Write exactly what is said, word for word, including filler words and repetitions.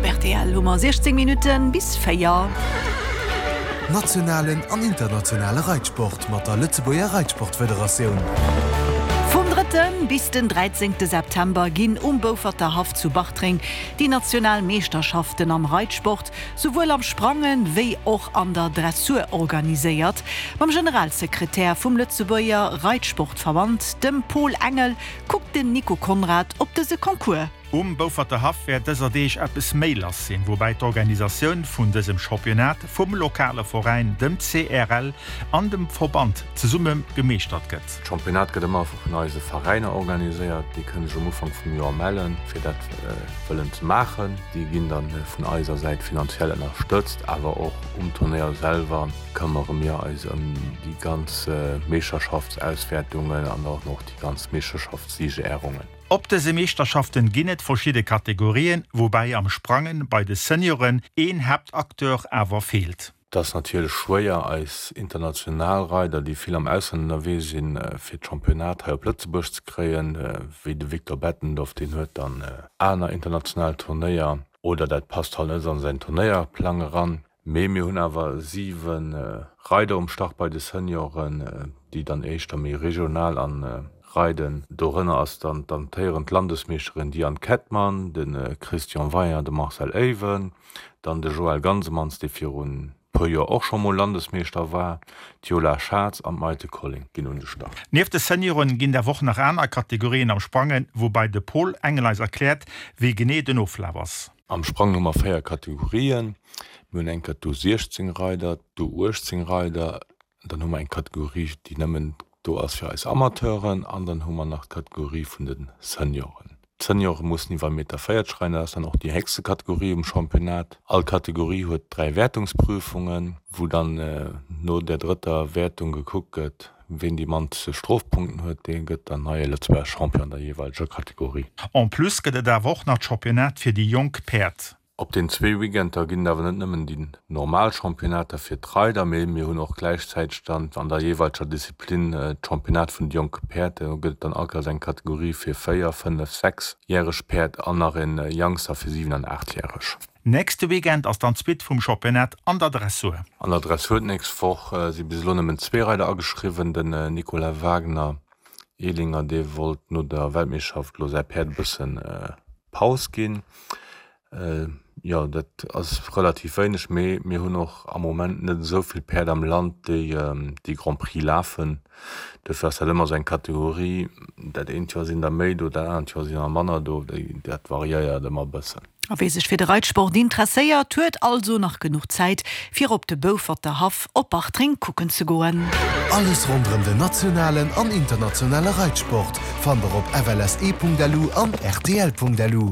Op rtl hu mer siechzéng Minutten bis véier. Nationalen an internationale Reitsport mat der Lëtzebuerger Reitsportfederatioun. Vum drëtten bis den dräizéngte September ginn um Bouferter Haff zu Bartreng déi national Meeschterschaften am Reitsport, souwuel am Sprangen wéi och an der Dressur organiséiert. Mam Generalsekretär vum Lëtzebuerger Reitsportverband, dem Paul Engel, kuckt den Nico Conrad op dëse Concours. Um Bouferter Haff wäert dëser Deeg eppes méi lass sinn, woubäi d'Organisatioun vun dësem Championnat vum lokale Veräin, dem C R L, an dem Verband zesumme gemeeschtert gëtt. D'Championnat gëtt ëmmer vun eise Veräiner organiséiert. Déi kënne sech um Ufank vum Joer mellen, fir dat wëllen ze maachen. Déi ginn dann vun eiser Säit finanziell ënnerstëtzt, awer och um Turnéier selwer këmmere mir eis ëm déi ganz Meeschterschaftsauswäertungen an och nach déi ganz Meeschterschaftssiegerehrungen. Op dëse Meeschterschaften ginn et verschidde Kategorien, woubäi am Sprangen bei de Senioren een Haaptacteur awer feelt. Et ass natierlech schwéier, eis international Reider, déi vill am Ausland ënnerwee sinn, fir d'Championnat hei op Lëtzebuerg ze kréien, wéi de Victor Bettendorf, deen huet dann aner international Turnéier oder dat passt halt net an säin Turnéierplang eran. Mee mir hunn awer siwe Reider um Start bei de Senioren, déi dann éischter méi regional an reiden. Dorënner ass dann d'amtéierend Landesmeeschterin Diane Kettmann, de Christian Weyer, de Marcel Ewen, dann de Joël Gansemans, dee virun puer Joer och scho mol Landesmeeschter war, d'Yola Schatz an d'Maite Colling ginn un de Start. Nieft de Senioren ginn et awer och nach aner Kategorien am Sprangen, woubäi de Paul Engel eis erkläert, wéi genee den Oflaf ass. Am Sprangen hu mer véier Kategorien. Mir hunn eng d'U siechzéng Reider, d'U uechtzéng Reider, dann hu mer eng Kategorie, déi nëmmen do ass fir eis Amateuren, an dann hu mer nach d'Kategorie vun de Senioren. D'Seniore mussen iwwer Meter véierzeg reiden, dat ass dann och déi héchste Kategorie um Championnat. All Kategorie huet dräi Wäertungsprüfungen, wou dann no der drëtter Wäertung gekuckt gëtt, wien déi mannste Strofpunkten huet, dee gëtt dann neie Lëtzebuerger Champion an der jeeweileger Kategorie. En plus gëtt et awer och nach d'Championnat fir déi jonk Päerd. Op den zwee Weekender ginn et awer net nëmmen déi normal Championnater fir d'Reider, mee mir hunn och gläichzäiteg dann an der jeeweileger Disziplin d'Championnat vun de jonke Päerd. Do gëtt et dann all Kéiers eng Kategorie fir véier-, fënnef-, sechsjäreg Päerd an nach e Youngster fir siwen an aachtjäreg. Nächste Weekend ass dann d'Suite vum Championnat an der Dressur. An der Dressur d'nächst Woch si bis elo nëmmen zwee Reider ageschriwwen, den Nicolas Wagner, Ehlinger, dee wollt no der Weltmeeschterschaft elo säi Päerd e bëssen Paus ginn. Jo, dat ass relativ wéineg, mee mir hunn och am Moment net esou vill Päerd am Land, déi déi Grand Prix lafen. Dofir ass dat ëmmer esou eng Kategorie, dat eent Joer sinn der méi do, dat anert Joer sinn der manner do, dat variéiert ëmmer e bëssen. A wee sech fir de Reitsport interesséiert, huet also nach genuch Zäit, fir op de Bouferter Haff op Bartreng kucken ze goen. Alles ronderëm den nationalen an internationale Reitsport fannt der op F L S E Punkt L U an R T L Punkt L U.